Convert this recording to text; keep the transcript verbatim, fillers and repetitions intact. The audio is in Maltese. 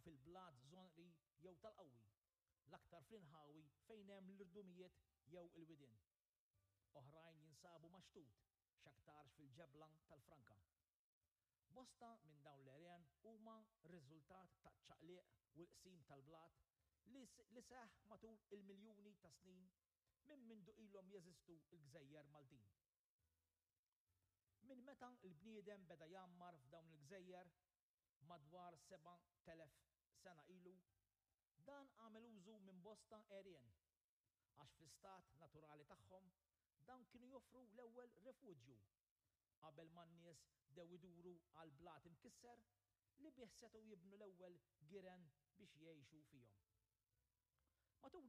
fil-blat żonqri jew tal-qawwi, l-aktar fl-inħawi fejn hemm l-irdumijiet jew il-widien. Oħrajn jinsabu max-xtut, x'aktarx fil-ġebla tal-franka. Bosta minn dawn l-għerien huma riżultat taċ-ċaqliq u l-qsim tal-blat li, li seħħ matul il-miljuni ta' snin minn mindu ilhom jeżistu l-gżejjer Maltin. Minn meta l-bniedem beda jgħammar f'dawn il-gżejjer madwar seba' telef sena ilu, dan għamel użu minn bosta għerien, għax fl-istat naturali tagħhom dan kienu joffru l-ewwel refuġju qabel ma n-nies bdew iduru għal blat imkisser li bih setgħu jibnu l-ewwel giren biex jgħixu fihom. Matul